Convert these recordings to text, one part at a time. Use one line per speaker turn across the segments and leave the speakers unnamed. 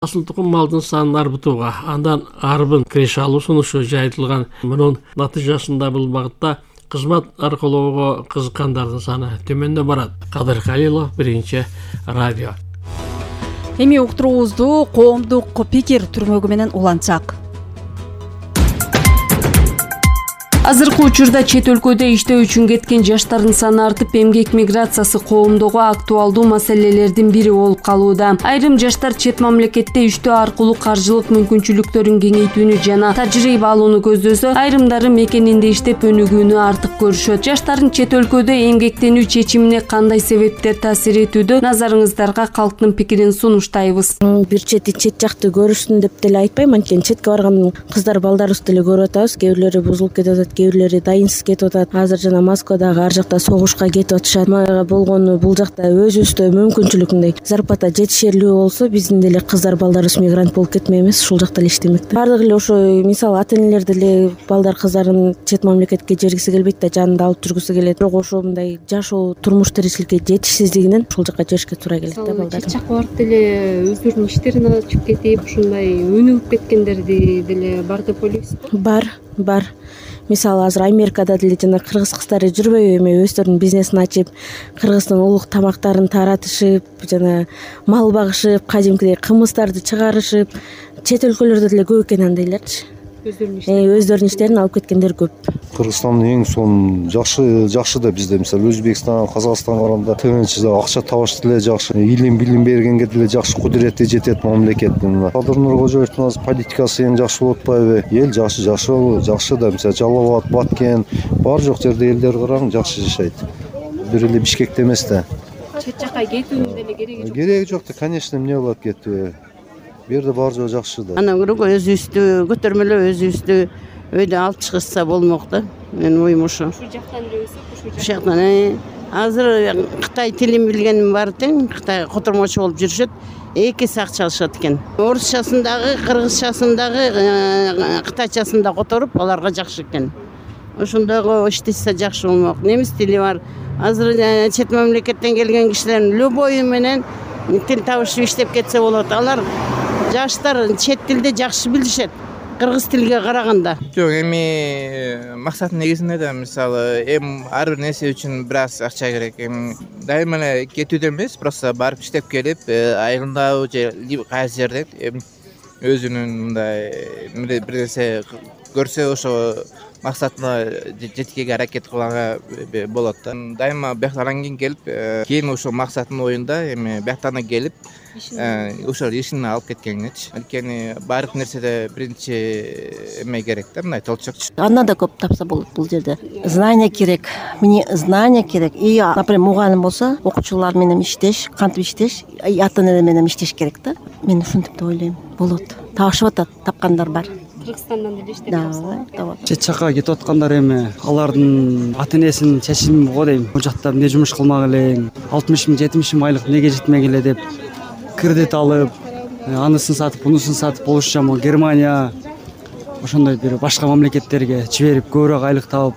Асыл тукум малдын санын арбытууга, андан арбын киреше алуу сунушу жайылтылган. Мунун натыйжасында бул багытта кызмат аркылоого кызыккандардын саны төмөндөп барат. Кадыр Халилов, Биринчи радио.
Эми уктуруубузду коомдук пикир түрмөгү менен улантсак. Азыркы учурда чет өлкөдө иштөө үчүн кеткен жаштардын саны артып, эмгек миграциясы коомдогу актуалдуу маселелердин бири болуп калууда. Айрым жаштар чет мамлекетте иштөө аркылуу каржылык мүмкүнчүлүктөрүн кеңейтүүнү жана тажрыйба алууну көздөсө, айрымдары мекенинде иштеп өнүгүүнү артык көрүшөт. Жаштардын чет өлкөдө эмгектенүү чечимине кандай себептер таасир этүүдө? Назарыңыздарга калктын пикирин сунуштайбыз.
Бир чети чет жакты көрүшсүн деп деле айтпайм, анткени четке барган кыздар балдарыбызды деле көрүп атабыз. Кээ бирлери бузулуп кетип атат, кээ бирлери дайынсыз кетип атат. Азыр жана Москвадагы ар жакта согушка кетип атышат. Мага болгону бул жакта өзүбүздө мүмкүнчүлүк мындай зарплата жетишерлүү болсо, биздин деле кыздар балдарыбыз мигрант болуп кетмейбиз, ушул жакта эле иштемек да. Бардыгы эле ошо мисалы ата-энелер деле балдар кыздарын чет мамлекетке жибергиси келбейт да, жанында алып жүргүсү келет. Бирок ошо мындай жашоо турмуш тиричиликке жетишсиздигинен ушул жакка жиберишке туура келет да балдар.
Чет жакка барып деле өздөрүнүн иштерин ачып кетип, ушундай өнүгүп кеткендерди деле бар деп ойлойсузбу? Бар. Мисалы азыр Америкада деле жана кыргыз кыздары жүрбөйбү, эми өздөрүнүн бизнесин ачып, кыргыздын улуг тамактарын таратышып, жана мал багышып, кадимкидей кымыздарды чыгарышып, чет өлкөлөрдө деле көп экен андайларчы. Өздөрүнүн иштерин алып кеткендер көп.
Кыргызстандын эң сонун жакшы да бизде, мисалы Өзбекстан, Казакстанга караганда тынч, акча табыш деле жакшы, илим билим бергенге деле жакшы кудурети жетет мамлекеттин. Кадыр Нуркожоевдун политикасы эң жакшы болуп атпайбы? Эл жакшы да, мисалы Жалал Абад, Баткен, бар жок жерде элдер караң жакшы жашайт. Бир эле Бишкекте эмес да.
Чет жакка кетүүнүн деле кереги жок.
Кереги жок да, конечно, эмне болот кетүү. Бу жерде бар жок жакшы да.
Анан көрөк өзүбүздү көтөрмөлөп, өзүбүздү өйдө алып чыгышса болмок да. Менин оюм ошо.
Ушул жактан эле өсүп,
ушул жактан. Азыр Кытай тилин билгеним бар тең, Кытай котормочу болуп жүрүшөт. Эки эсе акча алышат экен. Орусчасын дагы, кыргызчасын дагы, кытайчасын да которуп, аларга жакшы экен. Ошондогу иштесе жакшы болмок. Немис тили бар. Азыр чет мамлекеттен келген кишилердин любойу менен тил табышып иштеп кетсе болот. Алар жаштар чет тилди жакшы билишет, кыргыз тилге караганда.
Жок, эми максат негизинде да мисалы ар бир нерсе үчүн бир аз акча керек. Дайыма эле кетүүдө эмес, просто барып иштеп келип, айылдабы же кайсы жерде өзүнүн мындай бир нерсе көрсө, ошо максатына жеткенге аракет кылганга болот да. Дайыма бияктан кийин келип, кийин ошо максаттын оюнда эми бияктан келип, ошол ишин алып кеткенечи. Анткени баардык нерседе биринчи эме керек да, мындай толчокчу.
Андан да көп тапса болот бул жерде. Знание керек. Мне знание керек. И, например, мугалим болсо, окуучулар менен иштеш, кантип иштеш, ата-энелер менен иштеш керек да. Мен ушинтип деп ойлойм. Болот. Табышып атат, тапкандар бар.
Кыргызстандан деле иштеп жатат.
Чет жакка кетип аткандар эми алардын ата-энесинин чечими го дейм. Бул жакта эмне жумуш кылмак элең, 60 000, 70 000 айлык неге жетмек эле деп кредит алып, анысын сатып, бунусын сатып, Польша, Германия, ошондой бир башка мамлекеттерге жиберип, көбүрөөк айлык табып,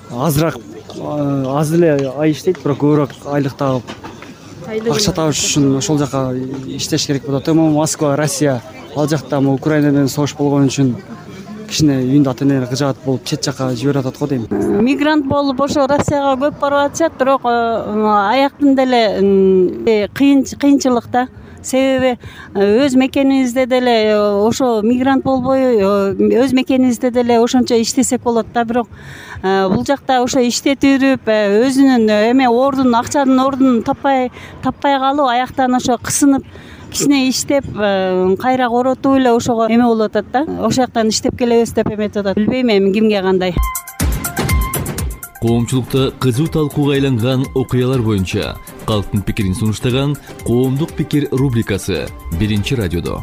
аз эле ай иштейт, бирок көбүрөөк айлык табып, акча табыш үчүн ошол жака иштеш керек болот. Москва, Россия, ал жакта Украина менен согуш болгон үчүн кичине үйүндө ата-энелер кыжаат болуп чет жака жиберип атат го дейм.
Мигрант болуп ошо Россияга көп барып атышат, бирок аяктын деле кыйынчылык да. Себеби өз мекенибизде деле ошо мигрант болбой, өз мекенибизде деле ошончо иштесек болот да, бирок бул жакта ошо иштетип, өзүнүн эме акчанын ордун таппай калуу, аяктан ошо кысынып кичине иштеп, кайра коротуп эле ошого эме болуп атат да. Ошол жактан иштеп келебиз деп эметип атат. Билбейм эми кимге кандай.
Коомчулукта кызуу талкууга айланган окуялар боюнча калктын пикирин сунуштаган Коомдук пикир рубрикасы Биринчи радиодо.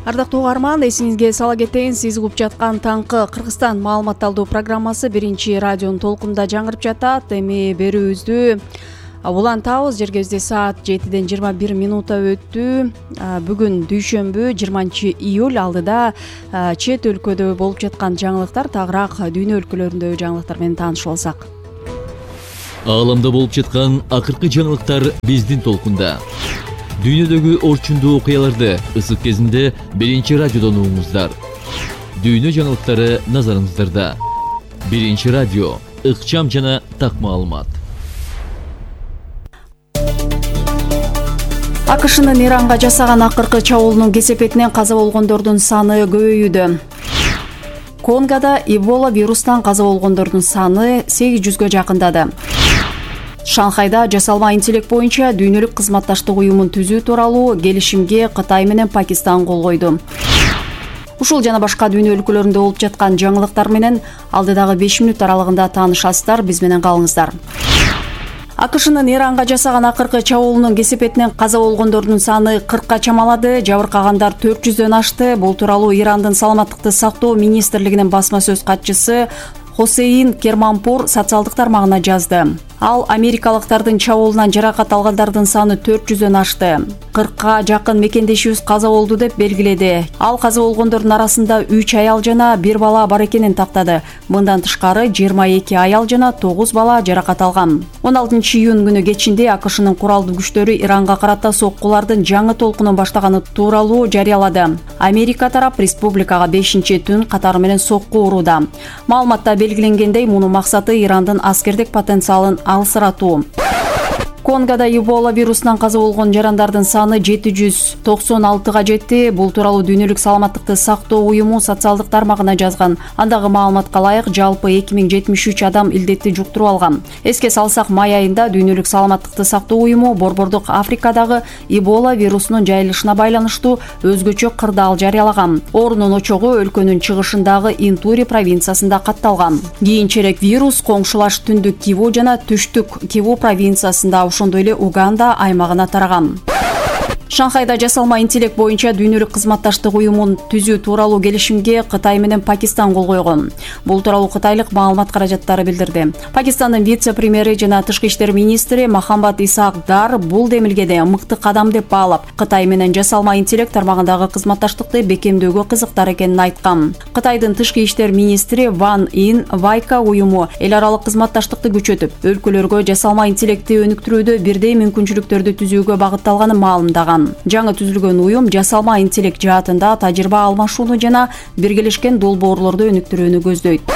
Ардактуу угарман, эсиңизге сала кетейин, сиз угуп жаткан таңкы Кыргызстан маалымат алуу программасы Биринчи радионун толкунда жаңырып жатат. Эми берүүбүздү улантабыз. Жергебизде саат 7-ден 21 минута өттү. Бүгүн дүйшөмбү 20-июль. Алдыда чет өлкөдө болуп жаткан жаңылыктар, тагыраак дүйнө өлкөлөрүндөгү жаңылыктар менен таанышып алсак.
Ааламда болуп жаткан акыркы жаңылыктар биздин толкунда. Дүйнөдөгү орчундуу окуяларды ысык кезинде биринчи радиодон угуңуздар. Дүйнө жаңылыктары назарыңыздарда. Биринчи радио, ыкчам жана так маалымат.
АКШнын Иранга жасаган акыркы чабуулунун кесепетинен каза болгондордун саны көбөйүүдө. Конгода Эбола вирустан каза болгондордун саны 800гө жакындады. Шанхайда жасалма интеллект боюнча дүйнөлүк кызматташтык уюмун түзүү тууралуу келишимге Кытай менен Пакистан кол койду. Ушул жана башка дүйнө өлкөлөрүндө болуп жаткан жаңылыктар менен алдыдагы 5 мүнөт аралыгында таанышасыздар, биз менен калыңыздар. АКШнын Иранга жасаган акыркы чабуулунун кесепетинен каза болгондордун саны 40ка чамалады, жабыркагандар 400дөн ашты. Бул тууралуу Ирандын саламаттыкты сактоо министрлигинин басма сөз катчысы Хосейн Керманпур социалдык тармагына жазды. Ал америкалыктардын чабуулунан жаракат алгандардын саны 400дөн ашты. 40ка жакын мекендешибиз каза болду деп белгиледи. Ал каза болгондордун арасында 3 аял жана 1 бала бар экенин тактады. Мындан тышкары 22 аял жана 9 бала жаракат алган. 16-июнь күнү кечинде АКШнын куралдуу күчтөрү Иранга карата соккулардын жаңы толкунун баштаганы тууралуу жарыялады. Америка тарап республикага 5-түн катары менен сокку урууда. Маалыматта белгиленгендей, мунун максаты Ирандын аскердик потенциалын алсыратуу. Конгода Эбола вирусунан каза болгон жарандардын саны 796га жетти. Бул тууралуу дүйнөлүк саламаттыкты сактоо уюму социалдык тармагына жазган. Андагы маалыматка ылайык жалпы 2073 адам илдетти жуктуруп алган. Эске салсак, май айында дүйнөлүк саламаттыкты сактоо уюму Борбордук Африкадагы Эбола вирусунун жайылышына байланыштуу өзгөчө кырдаал жарыялаган. Оорунун очогу өлкөнүн чыгышындагы Интури провинциясында катталган. Кийинчерээк вирус коңшулаш түндүк Киву жана түштүк Киву провинциясында, ошондой эле Уганда аймагына тараган. Шанхайда жасалма интеллект боюнча дүйнөлүк кызматташтык уюмун түзүү тууралуу келишимге Кытай менен Пакистан кол койгон. Бул тууралуу кытайлык маалымат каражаттары билдирди. Пакистандын вице-премьери жана тышкы иштер министри Махамбат Исаак Дар бул демилгеде мыкты кадам деп баалап, Кытай менен жасалма интеллект тармагындагы кызматташтыкты бекемдөөгө кызыктар экенин айткан. Кытайдын тышкы иштер министри Ван Ин Вайка уюму эл аралык кызматташтыкты күчөтүп, өлкөлөргө жасалма интеллектти өнүктүрүүдө бирдей мүмкүнчүлүктөрдү түзүүгө багытталганын маалымдаган. Жаңы түзүлгөн уюм жасалма интеллект жаатында тажрыйба алмашууну жана биргелешкен долбоорлорду өнүктүрүүнү көздөйт.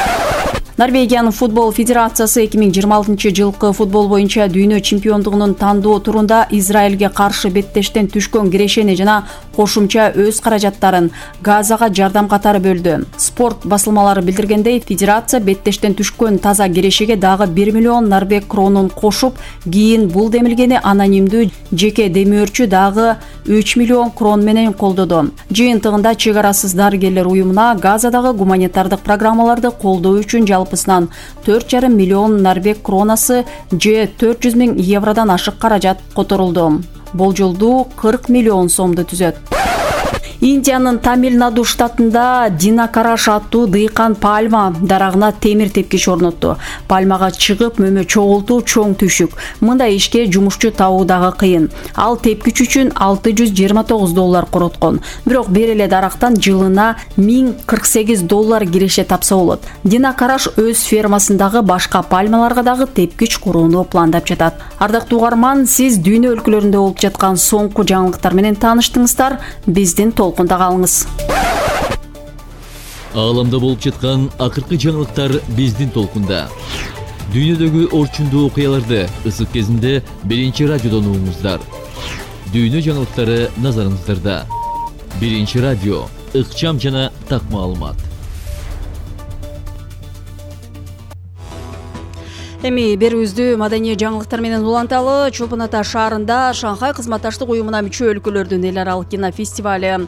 Норвегиянын футбол федерациясы 2026 жылкы футбол боюнча дүйнө чемпиондугунун тандоо турунда Израилге каршы беттештен түшкөн кирешени жана кошумча өз каражаттарын Газага жардам катары бөлдү. Спорт басылмалары билдиргендей, федерация беттештен түшкөн таза кирешеге дагы 1 миллион норвег кронун кошуп, кийин бул демилгени анонимдүү жеке демөөрчү дагы 3 миллион крон менен колдоду. Жыйынтыгында чек арасыз дарыгерлер уюмуна Газадагы гуманитардык программаларды колдоо үчүн жалпысынан 4,5 миллион норвег кронасы же 400 000 евродон ашык каражат которулду. Болжолдуу 40 миллион сомду түзөт. Индиянын Тамил-Наду штатында Динакараш аттуу дыйкан пальма дарагына темир тепкич орнотту. Пальмага чыгып мөмө чогултуу чоң түшүк. Мындай ишке жумушчу табуу дагы кыйын. Ал тепкич үчүн $629 короткон. Бирок бир эле дарактан жылына $1048 киреше тапса болот. Динакараш өз фермасындагы башка пальмаларга дагы тепкич курууну пландап жатат. Ардактуу угарман, сиз дүйнө өлкөлөрүндө болуп жаткан соңку жаңылыктар менен тааныштыңыздар. Биздин толкунда калыңыз.
Ааламда болуп жаткан акыркы жаңылыктар биздин толкунда. Дүйнөдөгү орчундуу окуяларды ысык кезинде биринчи радиодон угуңуздар. Дүйнө жаңылыктары назарыңыздарда. Биринчи радио, ыкчам жана так маалымат.
Эми берүүбүздү маданий жаңылыктар менен уланталы. Чолпон Ата шаарында Шанхай кызматташтык уюмуна мүчө өлкөлөрдүн эл аралык кинофестивалю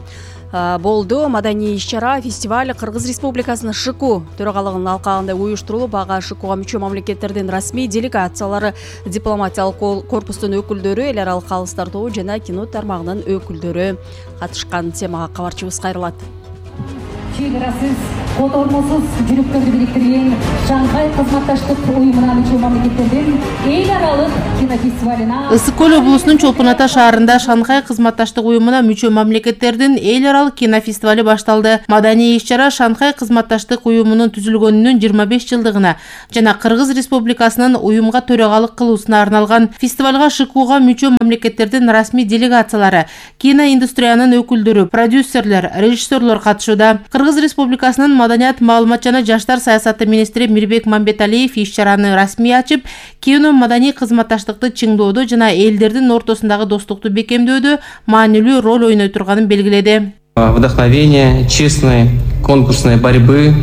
болду. Маданий иш-чара фестиваль Кыргыз Республикасынын ШКУ төрагалыгынын алкагында уюштурулуп, ага ШКУга мүчө мамлекеттердин расмий делегациялары, дипломатиялык корпустун өкүлдөрү, эл аралык калыстар тобу жана кино тармагынын өкүлдөрү катышкан. Темага кабарчыбыз кайрылат.
чыгарасыз котормосуз жүрүктөрдү бириктирген Шанхай кызматташтык уюмуна мүчө мамлекеттердин эл аралык кинофестивалына
Ысык көл облусунун Чолпон Ата шаарында Шанхай кызматташтык уюмуна мүчө мамлекеттердин эл аралык кинофестивали башталды. Маданий иш-чара Шанхай кызматташтык уюмунун түзүлгөнүнүн 25 жылдыгына жана Кыргыз Республикасынын уюмга төрагалык кылуусуна арналган. Фестивалга ШКУга мүчө мамлекеттердин расмий делегациялары, киноиндустриянын өкүлдөрү, продюсерлер, режиссерлор катышууда. Кыргыз Республикасынын маданият, маалымат жана жаштар саясаты министри Мирбек Мамбеталиев иш-чараны расмий ачып, кино маданий кызматташтыкты чыңдоодо жана элдердин ортосундагы достукту бекемдөөдө маанилүү роль ойной турганын белгиледи.
Вдохновение, честной конкурсной борьбы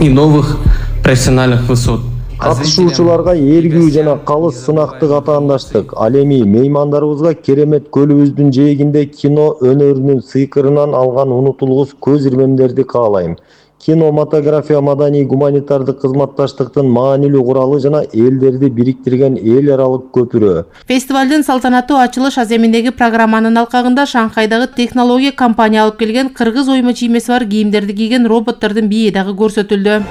и новых профессиональных высот.
Катышуучуларга ээргүү жана калыс сынактык атаандаштык. Ал эми меймандарыбызга Керемет көлүбүздүн жээгинде кино өнөрүнүн сыйкырынан алган унутулгус көз ирмемдерди каалайм. Кинематография маданий гуманитардык кызматташтыктын маанилүү куралы жана элдерди бириктирген эл аралык көпүрө.
Фестивалдын салтанаттуу ачылыш аземиндеги программанын алкагында Шанхайдагы технология компания алып келген кыргыз ойма чиймеси бар кийимдерди кийген роботтордун бийи дагы көрсөтүлдү.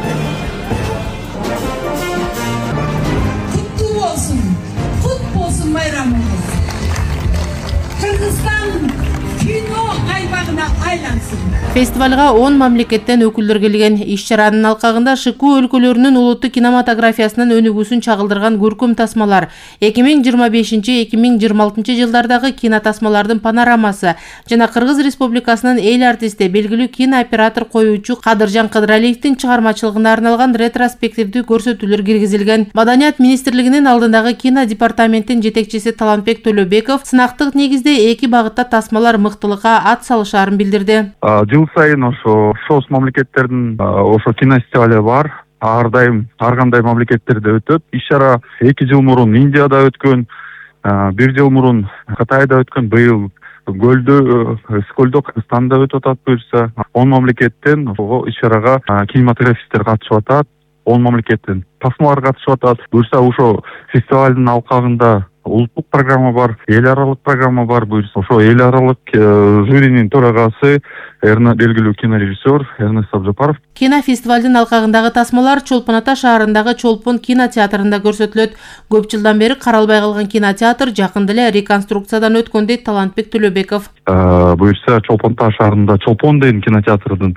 Фестивалга 10 мамлекеттен өкүлдөр келген. Иш-чаранын алкагында ШКУ өлкөлөрүнүн улуттук кинематографиясынын өнүгүүсүн чагылдырган көркөм тасмалар, 2025-2026 жылдардагы кинотасмалардын панорамасы жана Кыргыз Республикасынын эл артисти, белгилүү кинооператор коюучу Кадыржан Кыдыралиевдин чыгармачылыгына арналган ретроспективдүү көрсөтүүлөр киргизилген. Маданият министрлигинин алдындагы кино департаменттин жетекчиси Талантбек Төлөбеков сынактык негизде эки багытта тасмалар мыктылыкка ат салышаарын билдирди.
Жыл сайын ошо шоус мамлекеттердин ошо кинофестивали бар. Ар кандай мамлекеттерде өтөт. Иш-чара 2 жыл мурун Индияда өткөн, 1 жыл мурун Кытайда өткөн, быйыл Көлдө Кыргызстанда өтүп атат буюрса. 10 мамлекеттен ошого иш-чарага кинематографисттер катышып атат. 10 мамлекеттен тасмалар катышып атат. Буюрса ошо фестивалдын алкагында улуттук программа бар, эл аралык программа бар. Буюрса ошо эл аралык жюринин төрагасы, белгилүү кинорежиссер Эрнест Абжапаров.
Кинофестивалдын алкагындагы тасмалар Чолпон Ата шаарындагы Чолпон кинотеатрында көрсөтүлөт. Көп жылдан бери каралбай калган кинотеатр жакында эле реконструкциядан өткөн дейт Талантбек Төлөбеков.
Буюрса Чолпон Ата шаарында Чолпон деген кинотеатрдын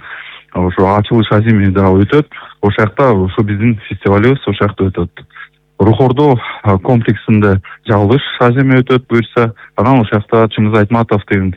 ошо ачылыш аземи да өтөт. Ошол жакта ошо биздин фестивалыбыз ошол жакта өтөт. Рухордо комплексинде жабылыш аземи өтөт буюрса, анан ошол жакта Чыңгыз Айтматовдун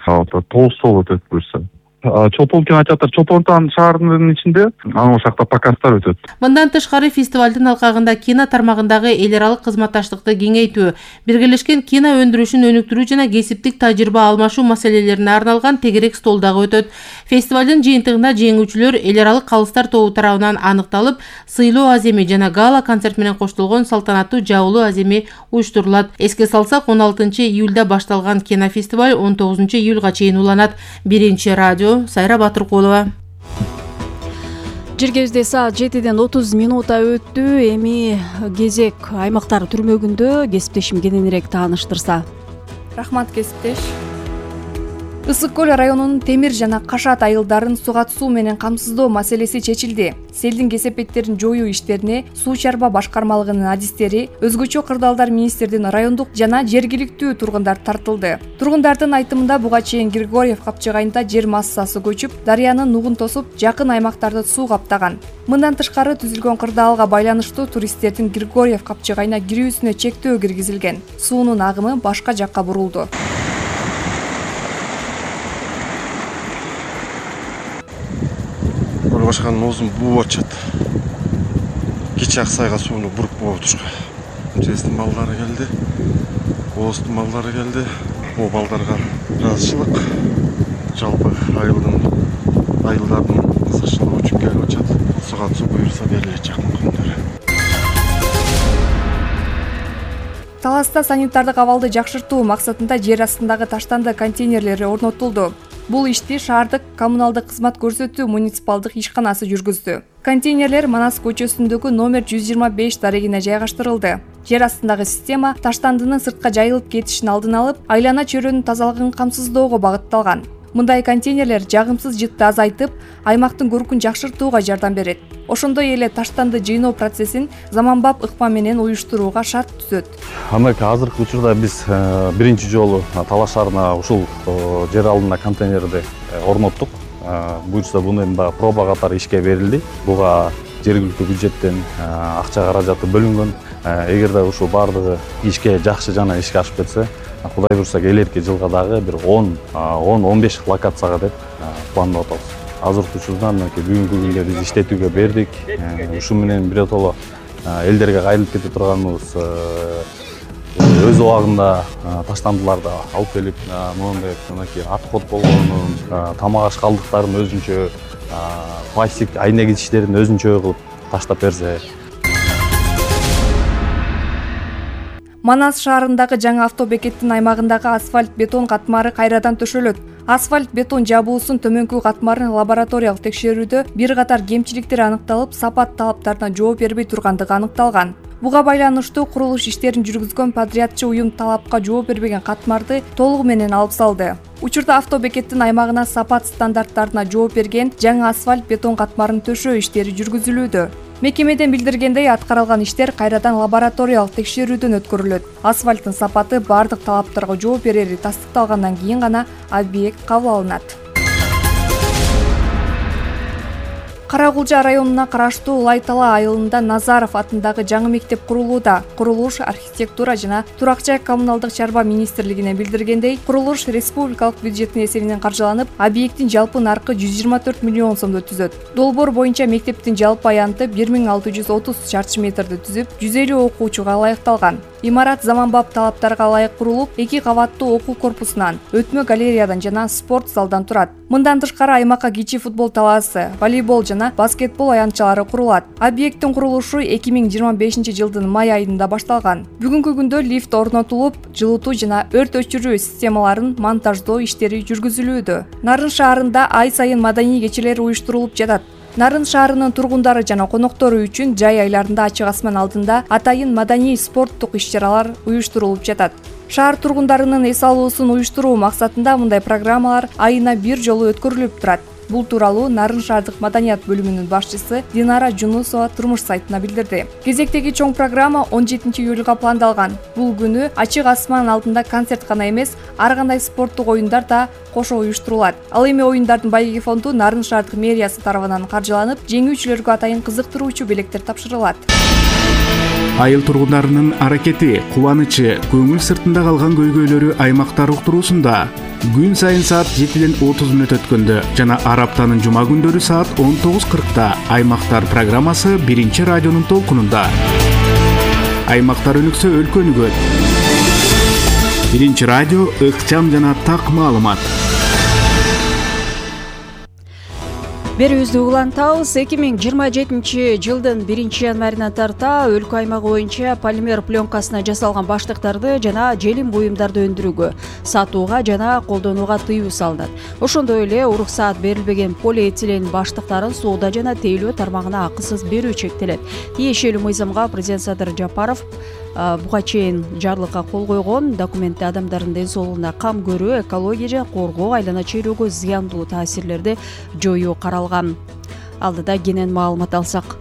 толстол өтөт буюрса. Чолпон кинотеатр Чолпон шаарынын ичинде, анан ошол жакта показдар өтөт.
Мындан тышкары фестивалдын алкагында кино тармагындагы эл аралык кызматташтыкты кеңейтүү, биргелешкен кино өндүрүшүн өнүктүрүү жана кесиптик тажрыйба алмашуу маселелерине арналган тегерек стол дагы өтөт. Фестивалдын жыйынтыгында жеңүүчүлөр эл аралык калыстар тобу тарабынан аныкталып, сыйлоо аземи жана гала концерт менен коштолгон салтанаттуу жабылуу аземи уюштурулат. Эске салсак, 16 июлда башталган кинофестиваль 19 июлга чейин уланат. Биринчи радио Сайра Батыркулова.
Жергебизде саат 7:30 өттү. Эми кезек аймактар түрмөгүндө кесиптешим кененирээк тааныштырса.
Рахмат кесиптеш. Ысык көл районунун темир жана кашат айылдарын суга суу менен камсыздоо маселеси чечилди. Селдин кесепеттерин жоюу иштерине суу чарба башкармалыгынын адистери, өзгөчө кырдаалдар министрдин райондук жана жергиликтүү тургундар тартылды. Тургундардын айтымында буга чейин Григорьев капчыгайында жер массасы көчүп, дарыянын нугун тосуп, жакын аймактарды суу каптаган. Мындан тышкары түзүлгөн кырдаалга байланыштуу туристтердин Григорьев капчыгайына кирүүсүнө чектөө киргизилген. Суунун агымы башка жакка бурулду.
Башканын оозун бууп атышат. Кечээ Аксайга сууну буруп болуп турушка. Жестин балдары келди. Ооздун балдары келди. Бул балдарга ыраазычылык. Жалпы айылдардын ысыкчылыгы үчүн келип атышат. Суга суу буюрса берилет жакын күндөрү.
Таласта санитардык абалды жакшыртуу максатында жер астындагы таштанды контейнерлери орнотулду. Бул ишти шаардык коммуналдык кызмат көрсөтүү муниципалдык ишканасы жүргүздү. Контейнерлер Манас көчөсүндөгү номер 125 дарегине жайгаштырылды. Жер астындагы система таштандынын сыртка жайылып кетишин алдын алып, айлана чөйрөнүн тазалыгын камсыздоого багытталган. Мындай контейнерлер жагымсыз жытты азайтып, аймактын көркүн жакшыртууга жардам берет. Ошондой эле таштанды жыйноо процессин заманбап ыкма менен уюштурууга шарт түзөт.
Азыркы учурда биз биринчи жолу Талаш шаарына ушул жер алдына контейнерди орноттук. Буюрса буну эми проба катары ишке берилди. Буга жергиликтүү бюджеттен акча каражаты бөлүнгөн. Эгерде ушул баардыгы ишке жакшы жана ишке ашып кетсе, Кудай буйрса келерки жылга дагы бир 10-15 локацияга деп пландап атабыз. Азыркы учурда бүгүнкү күндө биз иштетүүгө бердик. Ушу менен биротоло элдерге кайрылып кете турганыбыз өз убагында таштандыларды алып келип, мондай отход болгонун, тамак аш калдыктарын өзүнчө, пластик айнегичтерин өзүнчө кылып таштап берсе.
Манас шаарындагы жаңы автобекеттин аймагындагы асфальт бетон катмары кайрадан төшөлөт. Асфальт бетон жабуусунун төмөнкү катмарын лабораториялык текшерүүдө бир катар кемчиликтер аныкталып, сапат талаптарына жооп бербей тургандыгы аныкталган. Буга байланыштуу курулуш иштерин жүргүзгөн подрядчы уюм талапка жооп бербеген катмарды толугу менен алып салды. Учурда автобекеттин аймагына сапат стандарттарына жооп берген жаңы асфальт бетон катмарын төшөө иштери жүргүзүлүүдө. Мекемеден билдиргендей, аткарылган иштер кайрадан лабораториялык текшерүүдөн өткөрүлөт. Асфальттын сапаты бардык талаптарга жооп берери тастыкталгандан кийин гана объект кабыл алынат. Каракулжа районуна караштуу Лайтала айылында Назаров атындагы жаңы мектеп курулууда. Курулуш архитектура жана турак-жай коммуналдык чарба министрлигине билдиргендей, курулуш республикалык бюджеттин эсебинен каржыланып, объекттин жалпы наркы 124 миллион сомдо түзөт. Долбоор боюнча мектептин жалпы аянты 1630 чарчы метрди түзүп, 150 окуучуга ылайыкталган. Имарат заманбап талаптарга ылайык курулуп, 2 кабаттуу окуу корпусунан, өтмө галереядан жана спорт залдан турат. Мындан тышкары аймакка кичи футбол талаасы, волейбол жана баскетбол аянтчалары курулат. Объекттин курулушу 2025 жылдын май айында башталган. Бүгүнкү күндө лифт орнотулуп, жылытуу жана өрт өчүрүү системаларын монтаждоо иштери жүргүзүлүүдө. Нарын шаарында ай сайын маданий кечелер уюштурулуп жатат. Нарын шаарынын тургундары жана коноктору үчүн жай айларында ачык асман алдында атайын маданий спорттук иш-чаралар уюштурулуп жатат. Шаар тургундарынын эс алуусун уюштуруу максатында мындай программалар айына бир жолу өткөрүлүп турат. Бул тууралуу Нарын шаардык маданият бөлүмүнүн башчысы Динара Жунусова турмуш сайтына билдирди. Кезектеги чоң программа 17 июлга пландалган. Бул күнү ачык асман алдында концерт гана эмес, ар кандай спорттук оюндар да кошо уюштурулат. Ал эми оюндардын байгеги фонду Нарын шаардык мэриясы тарабынан каржыланып, жеңүүчүлөргө атайын кызыктыруучу белектер тапшырылат.
Айыл тургундарынын аракети, кубанычы, көңүл сыртында калган көйгөйлөрү аймактар уктуруусунда. Күн сайын саат 7:30 өткөндө жана ар аптанын жума күндөрү саат 19:40 Аймактар программасы биринчи радионун толкунунда. Аймактар өнүксө өлкө өнүгөт. Биринчи радио ыкчам жана так маалымат.
Берүүбүздү улантабыз. 2027 жылдын 1-январынан тарта өлкө аймагы боюнча полимер пленкасына жасалган баштыктарды жана желим буюмдарды өндүрүүгө, сатууга жана колдонууга тыюу салынат. Ошондой эле уруксаат берилбеген полиэтилен баштыктарын соода жана тейлөө тармагына акысыз берүү чектелет. Тиешелүү мыйзамга президент Садыр Жапаров буга чейин жарлыкка кол койгон. Документте адамдардын ден соолугуна кам көрүү, экология жана коргоо, айлана чөйрөгө зыяндуу таасирлерди жоюу каралган. Алдыда кенен маалымат алсак.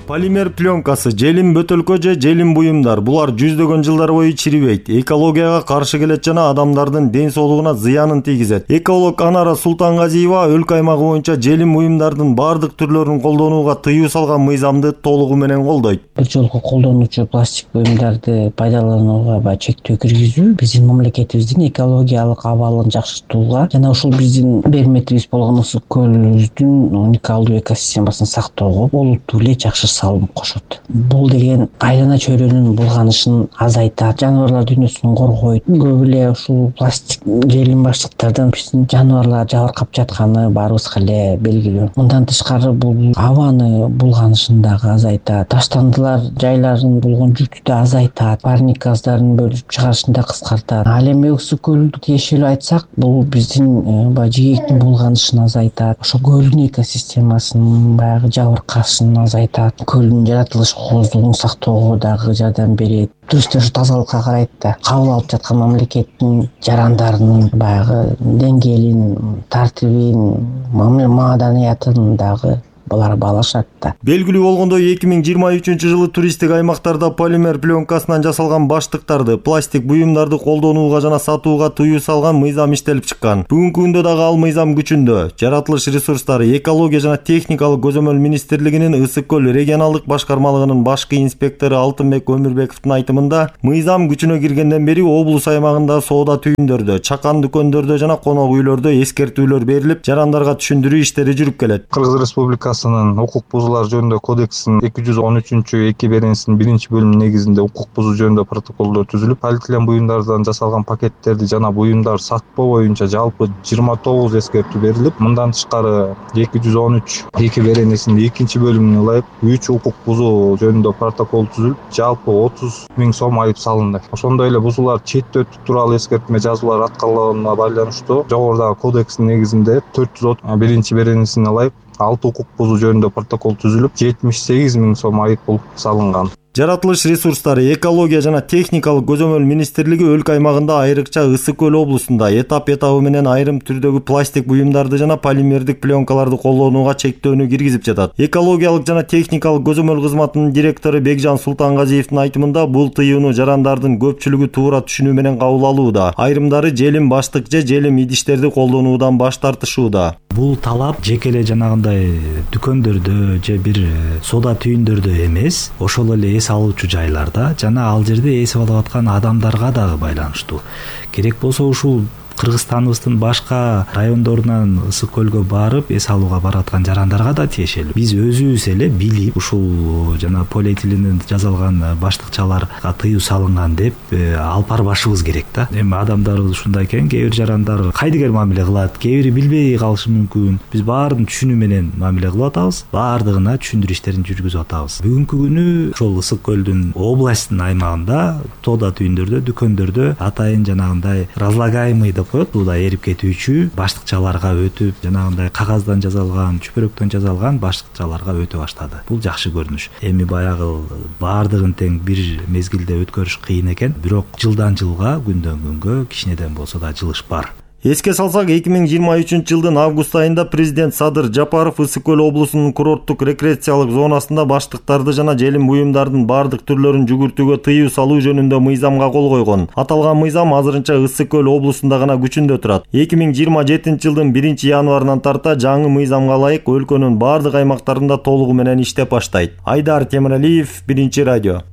Полимер пленкасы, желим бөтөлкө же желим буюмдар булар жүздөгөн жылдар бою чирибейт, экологияга каршы келет жана адамдардын ден соолугуна зыянын тийгизет. Эколог Анара Султангазиева өлкө аймагы боюнча желим буюмдардын бардык түрлөрүн колдонууга тыюу салган мыйзамды толугу менен колдойт.
Бир жолку колдонуучу пластик буюмдарды пайдаланууга чектөө киргизүү биздин мамлекетибиздин экологиялык абалын жакшыртууга жана ушул биздин берметибиз болгон ысык көлүбүздүн уникалдуу экосистемасын сактоого олуттуу эле жакшы салым кошот. Бул деген айлана чөйрөнүн булганышын азайтат, жаныбарлар дүйнөсүн коргойт. Көп эле ушул пластик желим баштыктардан биздин жаныбарлар жабыркап жатканы баарыбызга эле белгилүү. Мындан тышкары бул абаны булганышын дагы азайтат. Таштандылар жайларын болгон жүктү да азайтат, парник газдарын бөлүп чыгарышын да кыскартат. Ал эми ысык көлдү тиешелүү айтсак, бул биздин жээктин булганышын азайтат. Ошо көлдүн экосистемасынын баягы жабыркашын азайтат. көлдүн жаратылыш кооздугун сактоого дагы жардам берет. Туристтер тазалыкка карайт да, кабыл алып жаткан мамлекеттин жарандарынын баягы деңгээлин, тартибин, маданиятын дагы булар баалашат да.
Белгилүү болгондой 2023-жылы туристтик аймактарда полимер пленкасынан жасалган баштыктарды, пластик буюмдарды колдонууга жана сатууга тыюу салган мыйзам иштелип чыккан. Бүгүнкү күндө дагы ал мыйзам күчүндө. Жаратылыш ресурстары, экология жана техникалык көзөмөл министрлигинин Ысык көл регионалдык башкармалыгынын башкы инспектору Алтынбек Өмүрбековдун айтымында, мыйзам күчүнө киргенден бери облус аймагында соода түйүндөрдө, чакан дүкөндөрдө жана конок үйлөрдө эскертүүлөр берилип, жарандарга түшүндүрүү иштери жүрүп келет.
Кыргыз Республикасынын укук бузуулар жөнүндө кодексинин 213-2 беренесинин 1-бөлүмүнүн негизинде укук бузуу жөнүндө протоколдор түзүлүп, полиэтилен буюмдардан жасалган пакеттерди жана буюмдар сатпоо боюнча жалпы 29 эскертүү берилип, мындан тышкары 213-2 беренесинин 2-бөлүмүнө ылайык 3 укук бузуу жөнүндө протокол түзүлүп, жалпы 30 000 сом айып салынды. Ошондой эле бузуулар четте өтүү тууралуу эскертме жазуулар аткарылганына байланыштуу жогорудагы кодекстин негизинде 401 беренесине ылайык 6 укук бузуу жөнүндө протокол түзүлүп, 78 000 сом айып пул салынган.
Жаратылыш ресурстары, экология жана техникалык көзөмөл министрлиги өлкө аймагында айрыкча Ысык көл облусунда этап-этабы менен айрым түрдөгү пластик буюмдарды жана полимердик пленкаларды колдонууга чектөөнү киргизип жатат. Экологиялык жана техникалык көзөмөл кызматынын директору Бекжан Султангазиевдин айтымында, бул тыюуну жарандардын көпчүлүгү туура түшүнүү менен кабыл алууда. Айрымдары желим баштык же желим идиштерди колдонуудан баш тартышууда.
Бул талап жеке эле жанагындай дүкөндөрдө же бир соода түйүндөрдө эмес, ошол эле эс алуучу жайларда жана ал жерде эсип алып аткан адамдарга дагы байланыштуу. Керек болсо ушул Кыргызстаныбыздын башка райондорунан Ысык көлгө барып эс алууга бараткан жарандарга да тиешелүү. Биз өзүбүз эле билип ушул жана полиэтиленден жасалган баштыкчаларга тыюу салынган деп алып барбашыбыз керек да. Эми адамдарыбыз ушундай экен, кээ бир жарандар кайдыгер мамиле кылат, кээ бири билбей калышы мүмкүн. Биз баарын түшүнүү менен мамиле кылып атабыз, баардыгына түшүндүрүү иштерин жүргүзүп атабыз. Бүгүнкү күнү ошол Ысык көлдүн областтын аймагында тоода түйүндөрдө, дүкөндөрдө атайын жанагындай разлагаемый коет, бул да эрип кетүүчү баштыкчаларга өтүп, жанагындай кагаздан жасалган, чүпөрөктөн жасалган баштыкчаларга өтө баштады. Бул жакшы көрүнүш. Эми баягы баардыгын тең бир мезгилде өткөрүш кыйын экен, бирок жылдан жылга, күндөн күнгө кичинеден болсо да жылыш бар.
Эске салсак, 2023-жылдын август айында президент Садыр Жапаров Ысык көл облусунун курорттук рекреациялык зонасында баштыктарды жана желим буюмдардын бардык түрлөрүн жүгүртүүгө тыюу салуу жөнүндө мыйзамга кол койгон. Аталган мыйзам азырынча Ысык көл облусунда гана күчүндө турат. 2027-жылдын 1-январынан тарта жаңы мыйзамга ылайык өлкөнүн бардык аймактарында толугу менен иштеп баштайт. Айдар Темиралиев, 1-радио.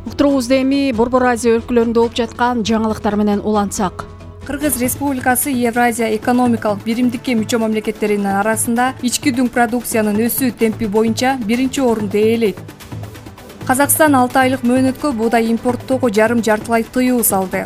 Уктуруубузду эми Борбор Азия өлкөлөрүндө болуп жаткан жаңылыктар менен улантсак.
Кыргыз Республикасы Евразия экономикалык биримдикке мүчө мамлекеттеринин арасында ички дүң продукциянын өсүү темпи боюнча 1-орунду ээлейт. Казакстан 6 айлык мөөнөткө буудай импорттоого жарым-жартылай тыюу салды.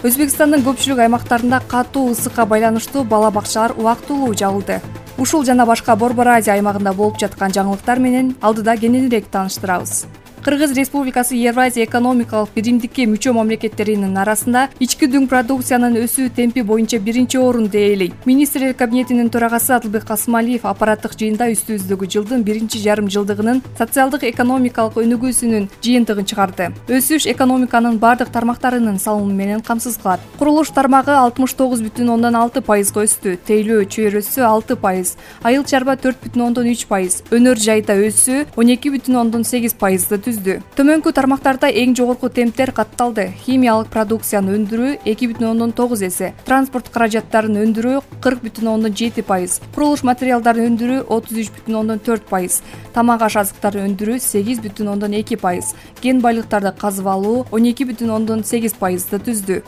Өзбекстандын көпчүлүк аймактарында катуу ысыкка байланыштуу бала бакчалар убактылуу жабылды. Ушул жана башка Борбор Азия аймагында болуп жаткан жаңылыктар менен алдыда кененирээк тааныштырабыз. Кыргыз Республикасы Евразия экономикалык биримдикке мүчө мамлекеттеринин арасында ички дүң продукциянын өсүү темпи боюнча 1-орунду ээлейт. Министрлер кабинетинин төрагасы Адылбек Касымалиев аппараттык жыйында үстүбүздөгү жылдын 1-жарым жылдыгынын социалдык экономикалык өнүгүүсүнүн жыйынтыгын чыгарды. Өсүш экономиканын бардык тармактарынын салымы менен камсыз кылат. Курулуш тармагы 69,6% өстү, тейлөө чөйрөсү 6%, айыл чарба 4,3%, өнөр жайда өсүү 12,8% Төмөнкү тармактарда эң жогорку темптер катталды. Химиялык продукцияны өндүрүү 2,9 эсе, транспорт каражаттарын өндүрүү 40,7%, курулуш материалдарын өндүрүү 33,4%, тамак аш азыктарын өндүрүү 8,2%, кен байлыктарды казып алуу 12,8% түздү.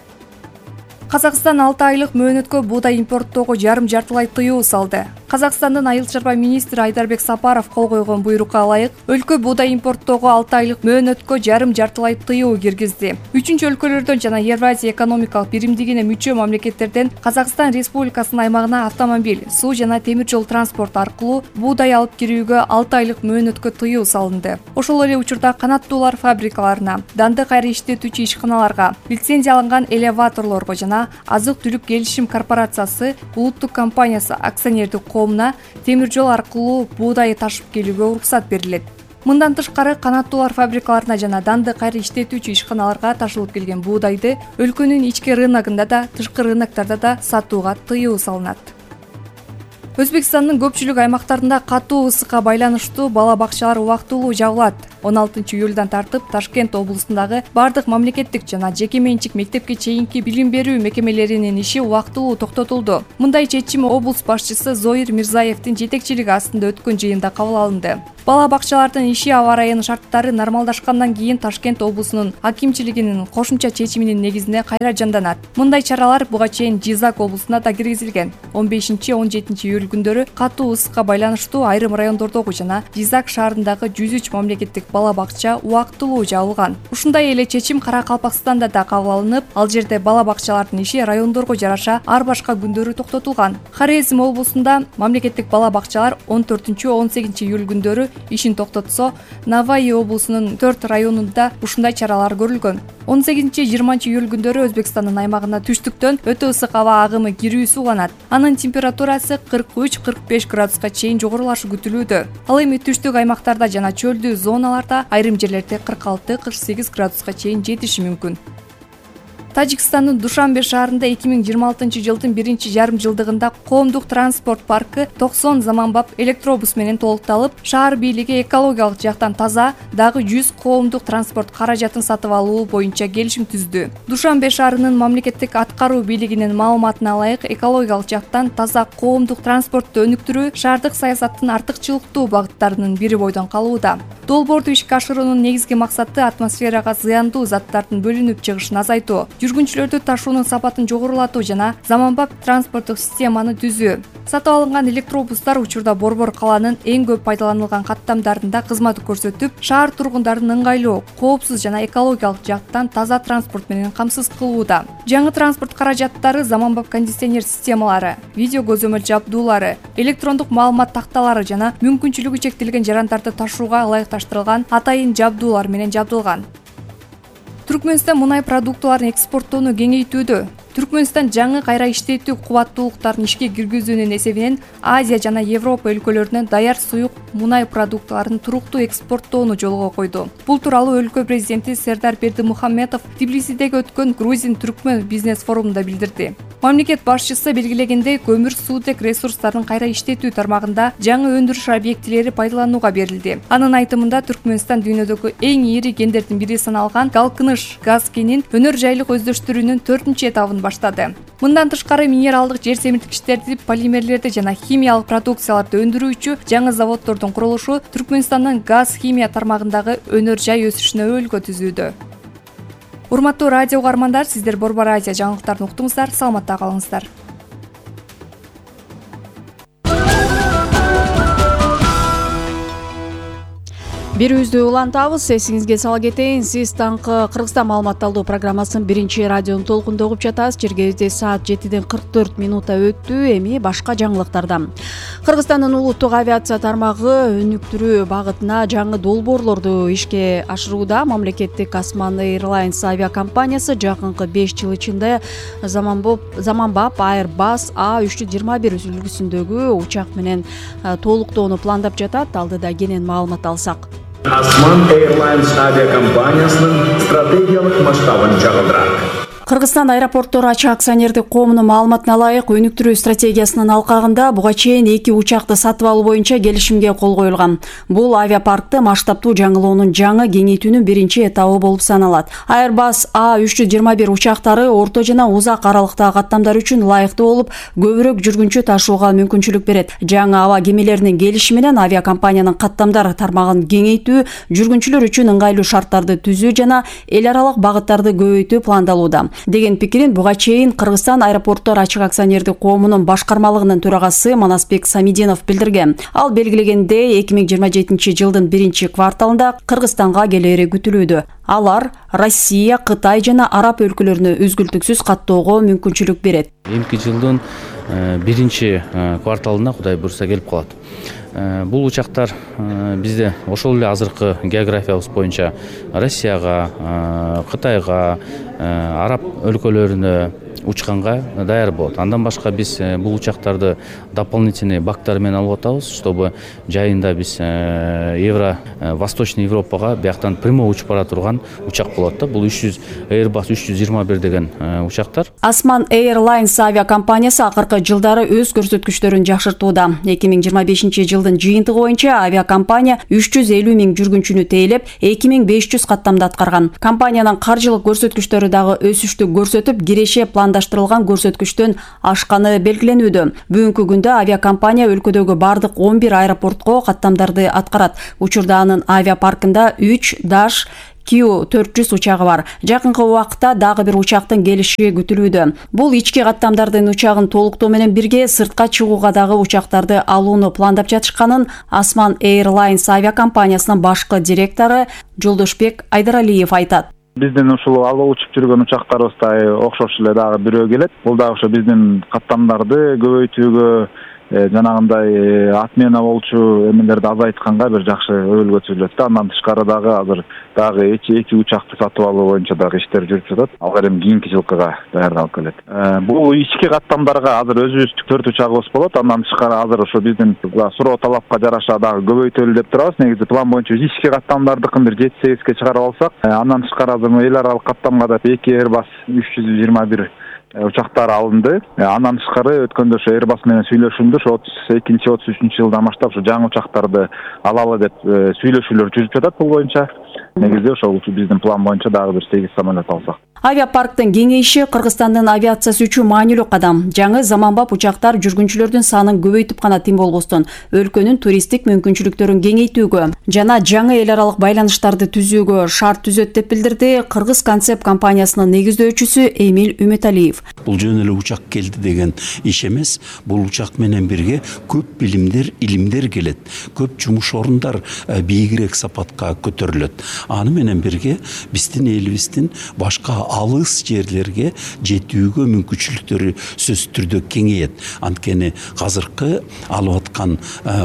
Казакстан 6 айлык мөөнөткө буудай импорттоого жарым-жартылай тыюу салды. Казакстандын айыл чарба министри Айдарбек Сапаров кол койгон буйрукка ылайык, өлкө буудай импорттоого 6 айлык мөөнөткө жарым-жартылай тыюу киргизди. Үчүнчү өлкөлөрдөн жана Евразия экономикалык биримдигине мүчө мамлекеттерден Казакстан Республикасынын аймагына автомобиль, суу жана темир жол транспорт аркылуу буудай алып кирүүгө 6 айлык мөөнөткө тыюу салынды. Ошол эле учурда канаттуулар фабрикаларына, дандык айры иштетүүчү ишканаларга, лицензияланган элеваторлорго жана азык-түлүк келишим корпорациясы улуттук компаниясы акционердик коому коомуна темир жол аркылуу буудай ташып келүүгө уруксат берилет. Мындан тышкары канаттуулар фабрикаларына жана данды кайра иштетүүчү ишканаларга ташылып келген буудайды өлкөнүн ички рыногунда да, тышкы рыноктарда да сатууга тыюу салынат. Өзбекстандын көпчүлүк аймактарында катуу ысыкка байланыштуу бала бакчалар убактылуу жабылат. 16 июлдан тартып Ташкент облусундагы бардык мамлекеттик жана жеке менчик мектепке чейинки билим берүү мекемелеринин иши убактылуу токтотулду. Мындай чечим облус башчысы Зоир Мирзаевдин жетекчилиги астында өткөн жыйында кабыл алынды. Бала бакчалардын иши аба райынын шарттары нормалдашкандан кийин Ташкент облусунун акимчилигинин кошумча чечиминин негизинде кайра жанданат. Мындай чаралар буга чейин Жизак облусуна да киргизилген. 15-17 июль күндөрү катуу ысыкка байланыштуу айрым райондордогу жана Жизак шаарындагы 103 мамлекеттик бала бакча убактылуу жабылган. Ушундай эле чечим Каракалпакстанда да кабыл алынып, ал жерде бала бакчалардын иши райондорго жараша ар башка күндөрү токтотулган. Хорезм облусунда мамлекеттик бала бакчалар 14-18 июль күндөрү ишин токтотсо, Наваи облусунун 4 районунда ушундай чаралар көрүлгөн. 18-20 июль күндөрү Өзбекстандын аймагына түштүктөн өтө ысык аба агымы кирүүсү уланат. Анын температурасы 43-45 градуска чейин жогорулашы күтүлүүдө. Ал эми түштүк аймактарда жана чөлдүү зоналарда айрым жерлерде 46-48 градуска чейин жетиши мүмкүн. Тажикстандын Душанбе шаарында 2026 жылдын 1-жарым жылдыгында коомдук транспорт паркы 90 заманбап электробус менен толукталып, шаар бийлиги экологиялык жактан таза, дагы 100 коомдук транспорт каражатын сатып алуу боюнча келишим түздү. Душанбе шаарынын мамлекеттик аткаруу бийлигинин маалыматына ылайык, экологиялык жактан таза коомдук транспортту өнүктүрүү шаардык саясаттын артыкчылыктуу багыттарынын бири бойдон калууда. Долбоорду ишке ашыруунун негизги максаты атмосферага зыяндуу заттардын бөлүнүп чыгышын азайтуу, жүргүнчүлөрдү ташуунун сапатын жогорулатуу жана заманбап транспорттук системаны түзүү. Сатып алынган электробустар учурда Борбор каланын эң көп пайдаланылган каттамдарында кызмат көрсөтүп, шаар тургундарын ыңгайлуу, коопсуз жана экологиялык жактан таза транспорт менен камсыз кылууда. Жаңы транспорт каражаттары заманбап кондиционер системалары, видео көзөмөл жабдуулары, электрондук маалымат такталары жана мүмкүнчүлүгү чектелген жарандарды ташууга ылайыкташтырылган атайын жабдуулар менен жабдылган. Түркмөнстан мунай продуктыларын экспорттоону кеңейтүүдө. Түркмөнстан жаңы кайра иштетүү кубаттуулуктарын ишке киргизүүнүн эсебинен Азия жана Европа өлкөлөрүнө даяр суюк мунай продуктыларын туруктуу экспорттоону жолго койду. Бул тууралуу өлкө президенти Сердар Бердимухамедов Тбилисидеги өткөн Грузин-Түркмөн бизнес форумунда билдирди. Мамлекет башчысы белгилегендей, көмүр суутек ресурстарын кайра иштетүү тармагында жаңы өндүрүш объектилери пайдаланууга берилди. Анын айтымында Түркмөнстан дүйнөдөгү эң ири кендердин бири саналган Галкыныш газ кенин өнөр жайлык өздөштүрүүнүн 4-этабын баштады. Мындан тышкары минералдык жер семирткичтерди, полимерлерди жана химиялык продукцияларды өндүрүүчү жаңы заводдордун курулушу Түркмөнстандын газ химия тармагындагы өнөр жай өсүшүнө өөлкө түзүүдө. Урматтуу радио угармандар, сиздер Борбор Азия жаңылыктарын уктуңуздар, саламатта калыңыздар.
Бирүүздү улантабыз. Эсиңизге сала кетейин, сиз таңкы Кыргызстан маалымат алуу программасын биринчи радионун толкунунда угуп жатасыз. Чергебизде саат 7:44 өттү. Эми башка жаңылыктардан. Кыргызстандын улуттук авиация тармагы өнүктүрүү багытына жаңы долбоорлорду ишке ашырууда. Мамлекеттик Осман Airlines авиакомпаниясы жакынкы 5 жыл ичинде заманбап Airbus A321 үлгүсүндөгү учак менен толуктоону пландап жатат. Алдыда кенен маалымат алсак.
Осман Airlines авиакомпаниясынын стратегиялык масштабын чагылдырат.
Кыргызстан аэропорттор ачык акционердик коомунун маалыматына ылайык, өнүктүрүү стратегиясынын алкагында буга чейин 2 учакты сатып алуу боюнча келишимге кол коюлган. Бул авиапаркты масштабтуу жаңылоонун жаңы кеңейтүүнүн биринчи этабы болуп саналат. Airbus A321 учактары орто жана узак аралыктагы каттамдар үчүн ылайыктуу болуп, көбүрөөк жүргүнчү ташууга мүмкүнчүлүк берет. Жаңы аба кемелеринин келишими менен авиакомпаниянын каттамдар тармагын кеңейтүү, жүргүнчүлөр үчүн ыңгайлуу шарттарды түзүү жана эл аралык багыттарды көбөйтүү пландалууда деген пикирин буга чейин Кыргызстан аэропорттор ачык акционердик коомунун башкармалыгынын төрагасы Манасбек Самидинов билдирген. Ал белгилегендей, 2027 жылдын 1-кварталында Кыргызстанга келери күтүлүүдө. Алар Россия, Кытай жана Араб өлкөлөрүнө үзгүлтүксүз каттоого мүмкүнчүлүк берет.
Эмки жылдын 1-кварталына Кудай буйрса келип калат. Бул учактар бизде ошол эле азыркы географиябыз боюнча Россияга, Кытайга, Араб өлкөлөрүнө, учканга даяр болот. Андан башка биз бул учактарды дополнительный бактар менен алып атабыз, чтобы жайында биз Восточный Европага бияктан прямой учуп бара турган учак болот да. Бул Airbus 321 деген учактар.
Osman Airlines авиакомпаниясы акыркы жылдары өз көрсөткүчтөрүн жакшыртууда. 2025 жылдын жыйынтыгы боюнча авиакомпания 350 миң жүргүнчүнү тейлеп, 2500 каттамды аткарган. Компаниянын каржылык көрсөткүчтөрү дагы өсүштү көрсөтүп, киреше пландаштырылган көрсөткүчтөн ашканы белгиленүүдө. Бүгүнкү күндө авиакомпания өлкөдөгү бардык 11 аэропортко каттамдарды аткарат. Учурда анын авиапаркында 3 Dash Q400 учагы бар. Жакынкы убакытта дагы бир учактын келиши күтүлүүдө. Бул ички каттамдардын учагын толуктоо менен бирге сыртка чыгууга дагы учактарды алууну пландап жатышканын Osman Airlines авиакомпаниясынын башкы директору Жолдошбек Айдаралиев айтат.
Биздин ушул алып учуп жүргөн учактарыбыздай окшош эле дагы бирөө келет. Бул дагы ошо биздин каттамдарды көбөйтүүгө, жанагындай отмена болчу эмелерди азайтканга бир жакшы өбөлгө түзүлөт да. Андан тышкары дагы азыр дагы эки учакты сатып алуу боюнча дагы иштер жүрүп жатат. Алар эми кийинки жылкыга даярдалып келет. Бул ички каттамдарга азыр өзүбүздүн 4 учагыбыз болот. Андан тышкары азыр ошо биздин суроо талапка жараша дагы көбөйтөлү деп турабыз. Негизи план боюнча ички каттамдардыкын бир 7-8ге чыгарып алсак, андан тышкары азыр эл аралык каттамга да 2 Airbus 321 учактар алынды. Андан тышкары өткөндө ошо Airbus менен сүйлөшүлдү. Ошо 32-33 жылдан баштап ошо жаңы учактарды алалы деп сүйлөшүүлөр жүрүп жатат бул боюнча. Негизи ошол биздин план боюнча дагы бир 8 самолет алсак.
Авиапарктын кеңейиши Кыргызстандын авиациясы үчүн маанилүү кадам. Жаңы заманбап учактар жүргүнчүлөрдүн санын көбөйтүп гана тим болбостон, өлкөнүн туристтик мүмкүнчүлүктөрүн кеңейтүүгө жана жаңы эл аралык байланыштарды түзүүгө шарт түзөт деп билдирди Кыргыз Концепт компаниясынын негиздөөчүсү Эмил Үмөталиев.
Бул жөн эле учак келди деген иш эмес. Бул учак менен бирге көп билимдер, илимдер келет. Көп жумуш орундар бийигирээк сапатка көтөрүлөт. Аны менен бирге биздин элибиздин башка алыс жерлерге жетүүгө мүмкүнчүлүктөрү сөзсүз түрдө кеңейет. Анткени азыркы алып аткан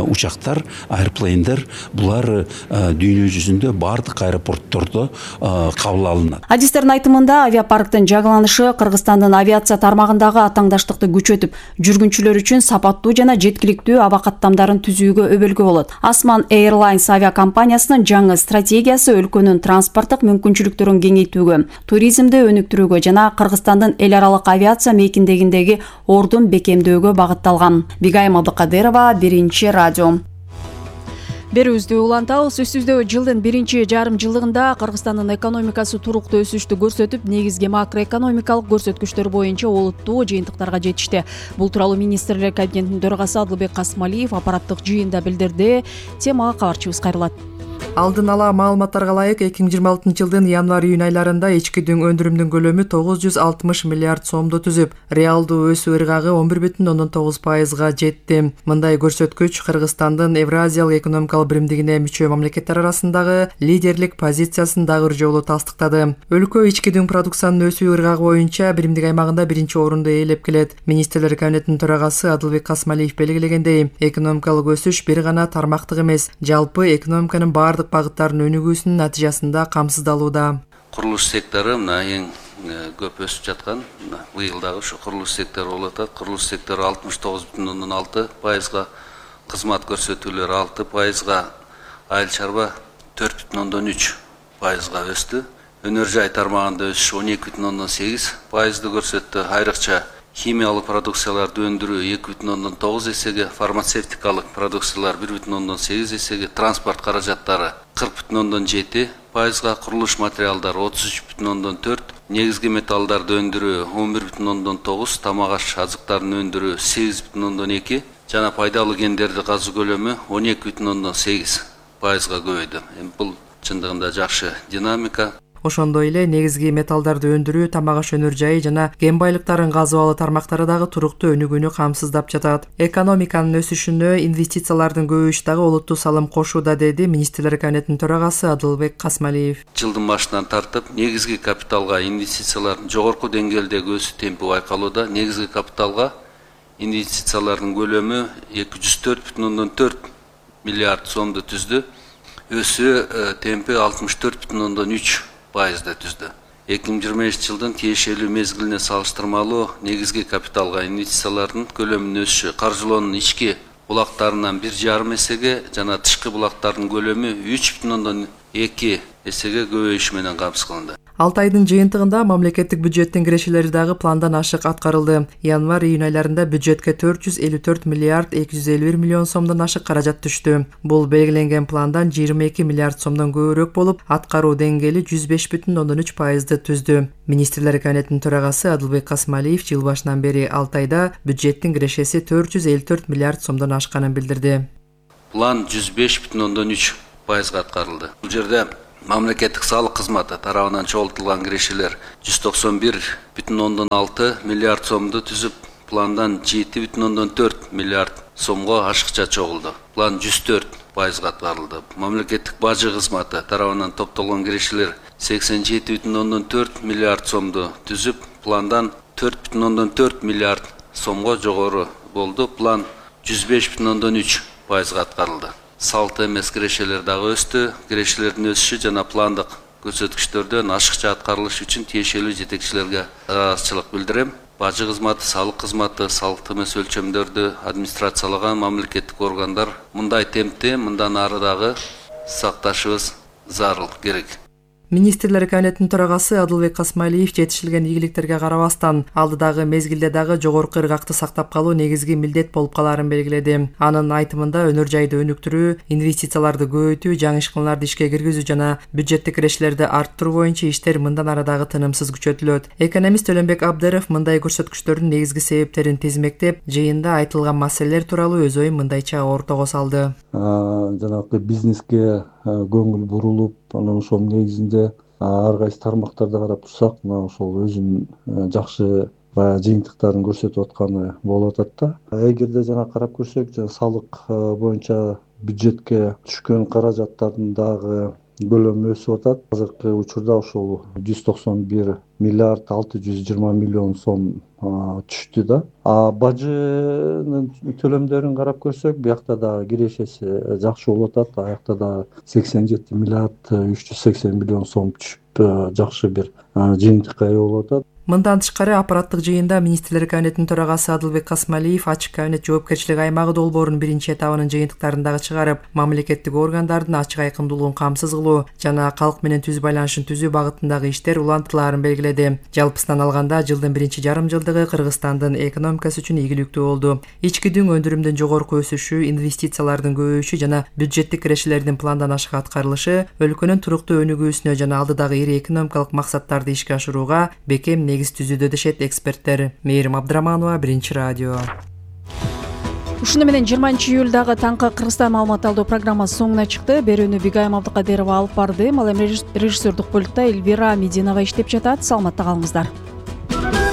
учактар, аэроплендер булар дүйнө жүзүндө бардык аэропорттордо кабыл алынат.
Адистердин айтымында авиапарктын жаңыланышы Кыргызстандын авиация тармагындагы атаңдаштыкты күчөтүп, жүргүнчүлөр үчүн сапаттуу жана жеткиликтүү аба каттамдарын түзүүгө өбөлгө болот. Osman Airlines авиакомпаниясынын жаңы стратегиясы өлкөнүн транспорттук мүмкүнчүлүктөрүн кеңейтүүгө, туризмди өнүктүрүүгө жана Кыргызстандын эл аралык авиация мейкиндегиндеги ордун бекемдөөгө багытталган. Бигайым Абдыкадырова, Биринчи радио. Берүүбүздү улантабыз. Сөзсүздө жылдын биринчи жарым жылдыгында Кыргызстандын экономикасы туруктуу өсүштү көрсөтүп, негизги макроэкономикалык көрсөткүчтөр боюнча олуттуу жыйынтыктарга жетишти. Бул тууралуу министрлер кабинетинин төрагасы Адылбек Касмалиев аппараттык жыйында билдирди. Темага кабарчыбыз кайрылат.
Алдын ала маалыматтарга ылайык 2026 жылдын январь-июнь айларында ички өндүрүмдүн көлөмү 960 миллиард сомду түзүп, реалдуу өсүү ыргагы 11,9%га жетти. Мындай көрсөткүч Кыргызстандын Евразиялык экономикалык биримдигине мүчө мамлекеттер арасындагы лидерлик позициясын дагы жолу тастыктады. Өлкө ички продукциянын өсүү ыргагы боюнча биримдик аймагында биринчи орунду ээлеп келет. Министрлер кабинетинин төрагасы Адылбек Касмалиев белгилегендей, экономикалык өсүш бир гана тармактык эмес, жалпы экономиканын бардык багыттарын өнүгүүсүнүн натыйжасында камсыздалууда.
Курулуш сектору мына эң көп өсүп жаткан быйыл дагы ушу курулуш сектору болуп атат. Курулуш сектору 69,6%, кызмат көрсөтүүлөр 6%, айыл чарба 4,3%га өстү. Өнөр жай тармагында өсүш 12,8%ды көрсөттү. Айрыкча химиялык продукцияларды өндүрүү 2,9 эсеге, фармацевтикалык продукциялар 1,8 эсеге, транспорт каражаттары 40,7%га, курулуш материалдары 33,4%, негизги металлдарды өндүрүү 11,9%, тамак аш азыктарын өндүрүү 8,2%, жана пайдалуу кендерди казуу көлөмү 12,8%га көбөйдү. Бул чындыгында жакшы динамика.
Ошондой эле негизги металлдарды өндүрүү, тамак аш өнөр жайы жана кен байлыктарын казып алуу тармактары дагы туруктуу өнүгүүнү камсыздап жатат. Экономиканын өсүшүнө инвестициялардын көбөйүшү дагы олуттуу салым кошууда, деди министрлер кабинетинин төрагасы Адылбек Касмалиев.
Жылдын башынан тартып, негизги капиталга инвестициялардын жогорку деңгээлдеги өсүү темпи байкалууда. Негизги капиталга инвестициялардын көлөмү 204,4 миллиард сомду түздү. Өсүү темпи 64,3%ды түздү. 2025 жылдын тиешелүү мезгилине салыштырмалуу негизги капиталга инвестициялардын көлөмүнүн өсүшү каржылоонун ички булактарынан 1,5 эсеге жана тышкы булактардын көлөмү 3,2 эсеге көбөйүшү менен камсыз кылынды.
6 айдын жыйынтыгында мамлекеттик бюджеттин кирешелери дагы пландан ашык аткарылды. Январь-июнь айларында бюджетке 454 миллиард 251 миллион сомдон ашык каражат түштү. Бул белгиленген пландан 22 миллиард сомдон көбүрөөк болуп, аткаруу деңгээли 105,3%ды түздү. Министрлер кабинетинин төрагасы Адылбек Касмалиев жыл башынан бери 6 айда бюджеттин кирешеси 454 миллиард сомдон ашканын билдирди.
План 105,3%га аткарылды. Бул жерде мамлекеттик салык кызматы тарабынан чогултулган кирешелер 191,6 миллиард сомду түзүп, пландан 7,4 миллиард сомго ашыкча чогулду. План 104%га аткарылды. Мамлекеттик бажы кызматы тарабынан топтолгон кирешелер 87,4 миллиард сомду түзүп, пландан 4,4 миллиард сомго жогору болду. План 105,3%га аткарылды. Салт эмес кирешелер дагы өстү. Кирешелердин өсүшү жана пландык көрсөткүчтөрдөн ашыкча аткарылышы үчүн тиешелүү жетекчилерге ыраазычылык билдирем. Бажы кызматы, салык кызматы, салт эмес өлчөмдөрдү администрациялаган мамлекеттик органдар мындай темпти мындан ары дагы сакташыбыз зарыл керек.
Министрлер кабинетинин төрагасы Адылбек Касмалиев жетишилген ийгиликтерге карабастан алдыдагы мезгилде дагы жогорку ыргакты сактап калуу негизги милдет болуп калаарын белгиледи. Анын айтымында өнөр жайды өнүктүрүү, инвестицияларды көбөйтүү, жаңы ишканаларды ишке киргизүү жана бюджеттик кирешелерди арттыруу боюнча иштер мындан ары дагы тынымсыз күчөтүлөт. Экономист Өлөнбек Абдыров мындай көрсөткүчтөрдүн негизги себептерин тизмектеп, жыйында айтылган маселелер тууралуу өз оюн мындайча ортого салды.
Жанагы бизнеске көңүл бурулуп, анан ошол негизинде ар кайсы тармактарды карап турсак, мына ошол өзүнүн жакшы баягы жыйынтыктарын көрсөтүп атканы болуп атат да. Эгерде жана карап көрсөк, салык боюнча бюджетке түшкөн каражаттардын дагы көлөмү өсүп атат. Азыркы учурда ошол 191 миллиард 620 миллион сом түштү да. Бажынын төлөмдөрүн карап көрсөк, биякта да кирешеси жакшы болуп атат. Аякта да 87 миллиард 380 миллион сом түшүп, жакшы бир жыйынтыкка ээ болуп атат.
Мындан тышкары аппараттык жыйында Министрлер кабинетинин төрагасы Адылбек Касмалиев ачык кабинет жоопкерчилик аймагы долбоорунун биринчи этабынын жыйынтыктарын дагы чыгарып, мамлекеттик органдардын ачык айкындуулугун камсыз кылуу жана калк менен түз байланышын түзүү багытындагы иштер улантылаарын белгиледи. Жалпысынан алганда, жылдын биринчи жарым жылдыгы Кыргызстандын экономикасы үчүн игиликтүү болду. Ички дүң өндүрүмдүн жогорку өсүшү, инвестициялардын көбөйүшү жана бюджеттик кирешелердин пландан ашык аткарылышы өлкөнүн туруктуу өнүгүүсүнө жана алдыдагы ири экономикалык максаттарды ишке ашырууга бекем негиз түзүүдө дешет эксперттер. Мээрим Абдыраманова, Биринчи радио.
Ушуну менен 20-июлдагы таңкы Кыргызстан маалымат алуу программасы соңуна чыкты. Берүүнү Бигайым Абдыкадырова алып барды. Ал эми режиссердик пультта Эльвира Мединова иштеп жатат. Саламатта калыңыздар.